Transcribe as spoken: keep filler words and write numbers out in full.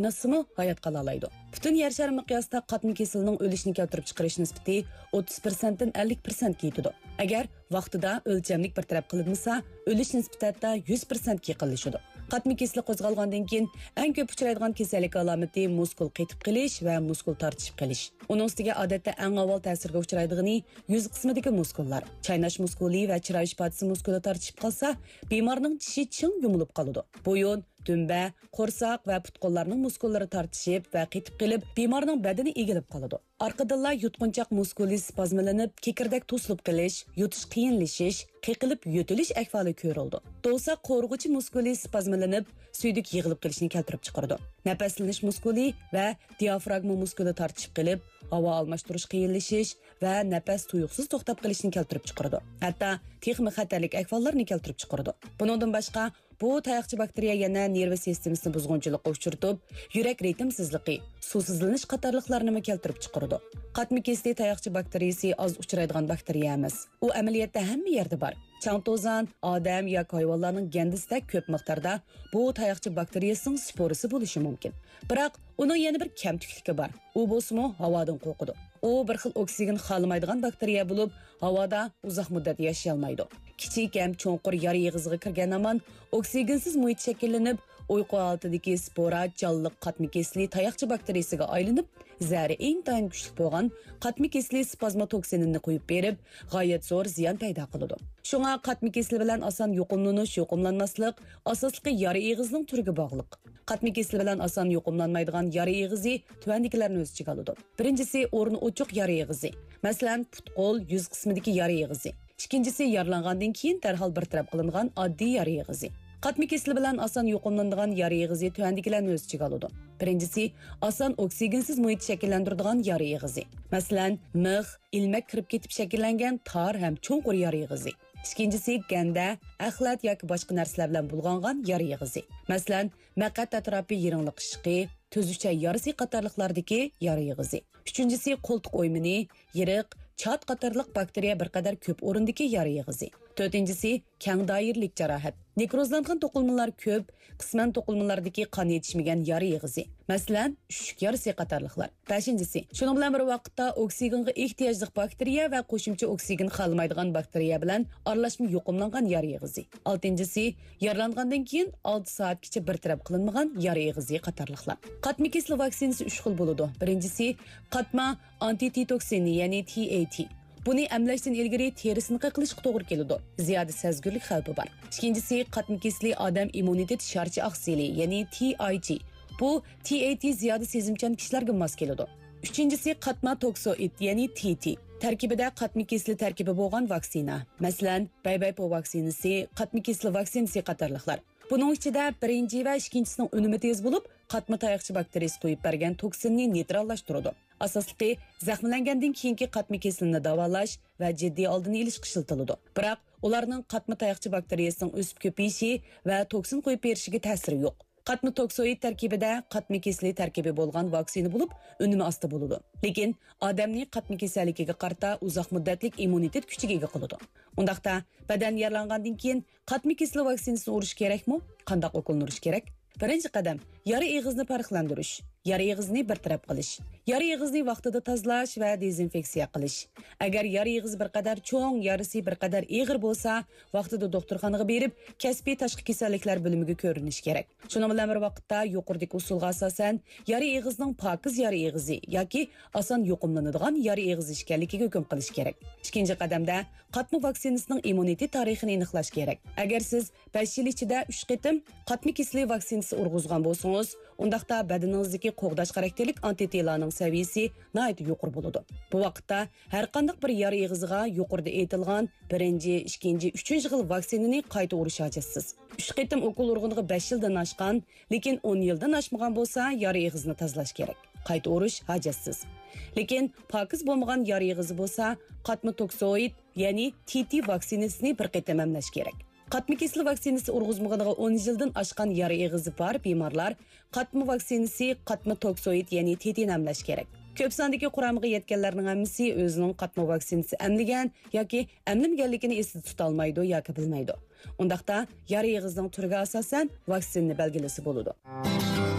نېمىسىمۇ ھايات قالالايدۇ. پۈتۈن يەر شارى مىقياسىدا قاتما كېسىلنىڭ ئۆلۈش نىكى كەلتۈرۈپ چىقىرىش نىسبىتى ئوتتۇز پىرسەنتتىن ئەللىك پىرسەنتكە يېتىدۇ. ئەگەر ۋاقتىدا ئۆلچەملىك بىر تەرەپ قىلىنمىسا، ئۆلۈش نىسبىتى ھەتتا يۈز پىرسەنتكە يېقىنلىشىدۇ. قاتما كېسىلى قوزغالغاندىن كېيىن ئەڭ كۆپ ئۇچرايدىغان كېسەللىك ئالامىتى مۇسكۇل قېتىپ قېلىش ۋە مۇسكۇل تارتىشىپ قېلىش. ئۇنىڭ ئۈستىگە ئادەتتە ئەڭ ئاۋۋال تەسىرگە ئۇچرايدىغىنى يۈز قىسمىدىكى مۇسكۇللار. چايناش مۇسكۇلى ۋە چىراي ئىپادىسى مۇسكۇلى تارتىشىپ قالسا، بىمارنىڭ چىشى چىڭ يۇمۇلۇپ قالىدۇ. بويۇن، دۈمبە، قورساق ۋە پۇت-قوللارنىڭ مۇسكۇللىرى تارتىشىپ ۋە قېتىپ قېلىپ، بىمارنىڭ بەدىنى ئېگىلىپ قالىدۇ. ئارقىدىنلا يۇتقۇنچاق مۇسكۇلى سپازملىنىپ، كېكىردەك توسۇلۇپ قېلىش، يۇتۇش قىيىنلىشىش، قېقىلىپ يۆتىلىش ئەھۋالى كۆرۈلىدۇ. دوۋساق قورۇغۇچى مۇسكۇلى سپازملىنىپ، سۈيدۈك يىغىلىپ قېلىشنى كەلتۈرۈپ چىقىرىدۇ. نەپەسلىنىش مۇسكۇلى ۋە دىئافراگما مۇسكۇلى تارتىشىپ قېلىپ، ھاۋا ئالماشتۇرۇش قىيىنلىشىش ۋە نەپەس تۇيۇقسىز توختاپ قېلىشنى كەلتۈرۈپ چىقىرىدۇ. ھەتتا تېخىمۇ خەتەرلىك ئەھۋاللارنى كەلتۈرۈپ چىقىرىدۇ. بۇنىڭدىن باشقا، بۇ تاياقچە باكتېرىيە يەنە نېرۋا سىستېمىسىنى بۇزغۇنچىلىققا ئۇچرىتىپ، يۈرەك رىتىمسىزلىقى، سۇسىزلىنىش قاتارلىقلارنىمۇ كەلتۈرۈپ چىقىرىدۇ. قاتما كېسىلى تاياقچە باكتېرىيىسى ئاز ئۇچرايدىغان باكتېرىيە ئەمەس. ئۇ ئەمەلىيەتتە ھەممە يەردە بار. چاڭ-توزان، ئادەم ياكى ھايۋانلارنىڭ گەندىسىدە كۆپ مىقداردا بۇ تاياقچە باكتېرىيەسىنىڭ سپورىسى بولۇشى مۇمكىن. بىراق، ئۇنىڭ يەنە بىر كەمتۈكلۈكى بار. ئۇ بولسىمۇ ھاۋادىن قورقىدۇ. ئۇ بىر خىل ئوكسىگېن خالىمايدىغان باكتېرىيە بولۇپ، ھاۋادا ئۇزاق مۇددەت ياشىيالمايدۇ. كىچىك ھەم چوڭقۇر يارا ئېغىزىغا كىرگەن ھامان ئوكسىگېنسىز مۇھىت شەكىللىنىپ، ئۇيقۇ ھالىتىدىكى سپورا جانلىق قاتما كېسىلى تاياقچە باكتېرىيىسىگە ئايلىنىپ، زەھىرى ئىنتايىن كۈچلۈك بولغان قاتما كېسىلى سپازما توكسىنىنى قويۇپ بېرىپ، غايەت زور زىيان پەيدا قىلىدۇ. شۇڭا قاتما كېسىلى بىلەن ئاسان يۇقۇملىنىش، يۇقۇملانماسلىق ئاساسلىقى يارا ئېغىزنىڭ تۈرىگە باغلىق. قاتما كېسىلى بىلەن ئاسان يۇقۇملانمايدىغان يارا ئېغىزى تۆۋەندىكىلەرنى ئۆز ئىچىگە ئالىدۇ. بىرىنچىسى، ئورنى ئوچۇق يارا ئېغىزى. مەسىلەن، پۇت-قول، يۈز قىسمىدىكى يارا ئېغىزى. ئىككىنچىسى، يارىلانغاندىن كېيىن دەرھال بىر تەرەپ قىلىنغان ئاددىي يارا ئېغىزى. قاتما كېسىلى بىلەن ئاسان يۇقۇملىنىدىغان يارا ئېغىزى تۆۋەندىكىلەرنى ئۆز ئىچىگە ئالىدۇ. بىرىنچىسى، ئاسان ئوكسىگېنسىز مۇھىت شەكىللەندۈرىدىغان يارا ئېغىزى. مەسىلەن، مىخ، ئىلمەك كىرىپ كېتىپ شەكىللەنگەن تار ھەم چوڭقۇر يارا ئېغىزى. ئىككىنچىسى، گەندە، ئەخلەت ياكى باشقا نەرسىلەر بىلەن بۇلغانغان يارا ئېغىزى. مەسىلەن، مەقئەت ئەتراپى يىرىڭلىق ئىششىقى، تۈزۈچە يارىسى قاتارلىقلاردىكى يارا ئېغىزى. ئۈچىنچىسى، قولتۇق ئويمىنى، يىرىق، چات قاتارلىق باكتېرىيە بىر قەدەر كۆپ ئورۇندىكى يارا ئېغىزى. تۆتىنچىسى، كەڭ دائىرىلىك جاراھەت. نېكروزلانغان توقۇلمىلار كۆپ، قىسمەن توقۇلمىلاردىكى قان يېتىشمىگەن يارا ئېغىزى. مەسىلەن، ئۈششۈك يارىسى قاتارلىقلار. بەشىنچىسى، شۇنىڭ بىلەن بىر ۋاقىتتا ئوكسىگېنغا ئېھتىياجلىق باكتېرىيە ۋە قوشۇمچە ئوكسىگېن خالىمايدىغان باكتېرىيە بىلەن ئارىلاشما يۇقۇملانغان يارا ئېغىزى. ئالتىنچىسى، يارىلانغاندىن كېيىن ئالتە سائەتكىچە بىر تەرەپ قىلىنمىغان يارا ئېغىزى قاتارلىقلار. قاتما كېسىلى ۋاكسىنىسى ئۈچ خىل بولىدۇ. بىرىنچىسى، قاتما ئانتىتېتوكسىنى، يەنى تى ئەي تى. بۇنى ئەملەشتىن ئىلگىرى تېرىسىنى قېقىلىشقا توغرا كېلىدۇ. زىيادە سەزگۈرلۈك خەۋپى بار. ئىككىنچىسى، قاتما كېسىلى ئادەم ئىممۇنىتېت شارچە ئاقسىلى، يەنى تى ئاي جى. بۇ تى ئەي تى زىيادە سېزىمچان كىشىلەرگە ماس كېلىدۇ. ئۈچىنچىسى، قاتما توكسوئىد، يەنى تى تى. تەركىبىدە قاتما كېسىلى تەركىبى بولغان ۋاكسىنا. مەسىلەن، بەيبەيپو ۋاكسىنىسى قاتما كېسىلى ۋاكسىنىسى قاتارلىقلار. بۇنىڭ ئىچىدە بىرىنچى ۋە ئىككىنچىسىنىڭ ئۈنۈمى تېز بولۇپ، قاتما تاياقچە باكتېرىيىسى قويۇپ بەرگەن توكسىننى نېيتراللاشتۇرىدۇ. ئاساسلىقى، زەخىملەنگەندىن كېيىنكى قاتما كېسىلىنى داۋالاش ۋە جىددىي ئالدىنى ئېلىشقا ئىشلىتىلىدۇ. بىراق، ئۇلارنىڭ قاتما تاياقچە باكتېرىيەسىنىڭ ئۆسۈپ كۆپىيىشى ۋە توكسىن قويۇپ بېرىشىگە تەسىرى يوق. قاتما توكسوئىد تەركىبىدە قاتما كېسىلى تەركىبى بولغان ۋاكسىنا بولۇپ، ئۈنۈمى ئاستا بولىدۇ. لېكىن ئادەمنى قاتما كېسەللىكىگە قارىتا ئۇزاق مۇددەتلىك ئىممۇنىتېت كۈچىگە ئىگە قىلىدۇ. ئۇنداقتا، بەدەن يارىلانغاندىن كېيىن قاتما كېسىلى ۋاكسىنىسىنى ئۇرۇش كېرەكمۇ؟ قانداق ئوكۇلنى ئۇرۇش كېرەك؟ بىرىنچى قەدەم، يارا ئېغىزنى پەرقلەندۈرۈش. يارا ئېغىزنى بىر تەرەپ قىلىش. يارا ئېغىزنى ۋاقتىدا تازىلاش ۋە دېزىنفېكسىيە قىلىش. ئەگەر يارا ئېغىزى بىر قەدەر چوڭ، يارىسى بىر قەدەر ئېغىر بولسا، ۋاقتىدا دوختۇرخانىغا بېرىپ، كەسپىي تاشقى كېسەللىكلەر بۆلۈمىگە كۆرۈنۈش كېرەك. شۇنىڭ بىلەن بىر ۋاقىتتا، يۇقىرىدىكى ئۇسۇلغا ئاساسەن، يارا ئېغىزنىڭ پاكىز يارا ئېغىزى ياكى ئاسان يۇقۇملىنىدىغان يارا ئېغىزى ئىكەنلىكىگە ھۆكۈم قىلىش كېرەك. ئىككىنچى قەدەمدە، قاتما ۋاكسىنىسىنىڭ ئىممۇنىتېت تارىخىنى ئېنىقلاش كېرەك. ئەگەر سىز بەش يىل ئىچىدە ئۈچ قېتىم قاتما كېسىلى ۋاكسىنىسى ئۇرغۇزغان بولسىڭىز، ئۇنداقتا بەدىنىڭىزدىكى قوغداش خاراكتېرلىك ئانتىتېلانىڭ سەۋىيىسى ناھايىتى يۇقىرى بولىدۇ. بۇ ۋاقىتتا ھەرقانداق بىر يارا ئېغىزىغا يۇقىرىدا ئېيتىلغان بىرىنچى، ئىككىنچى، ئۈچىنچى خىل ۋاكسىنىنى قايتا ئۇرۇش ھاجەتسىز. ئۈچ قېتىم ئوكۇل ئۇرغىنىغا بەش يىلدىن ئاشقان، لېكىن ئون يىلدىن ئاشمىغان بولسا، يارا ئېغىزنى تازىلاش كېرەك. قايتا ئۇرۇش ھاجەتسىز. لېكىن پاكىز بولمىغان يارا ئېغىزى بولسا، قاتما توكسوئىد، يەنى تى تى ۋاكسىنىسىنى بىر قېتىم ئەملەش كېرەك. قاتما كېسىلى ۋاكسىنىسى ئۇرغۇزمىغىنىغا ئون يىلدىن ئاشقان يارا ئېغىزى بار بىمارلار قاتما ۋاكسىنىسى، قاتما توكسوئىد، يەنى تى تىنى ئەملەش كېرەك. كۆپ ساندىكى قۇرامىغا يەتكەنلەرنىڭ ھەممىسى ئۆزىنىڭ قاتما ۋاكسىنىسى ئەملىگەن ياكى ئەملىمىگەنلىكىنى ئېسىدە تۇتالمايدۇ ياكى بىلمەيدۇ. ئۇنداقتا، يارا ئېغىزنىڭ تۈرىگە ئاساسەن ۋاكسىنىنى بەلگىلىسە بولىدۇ.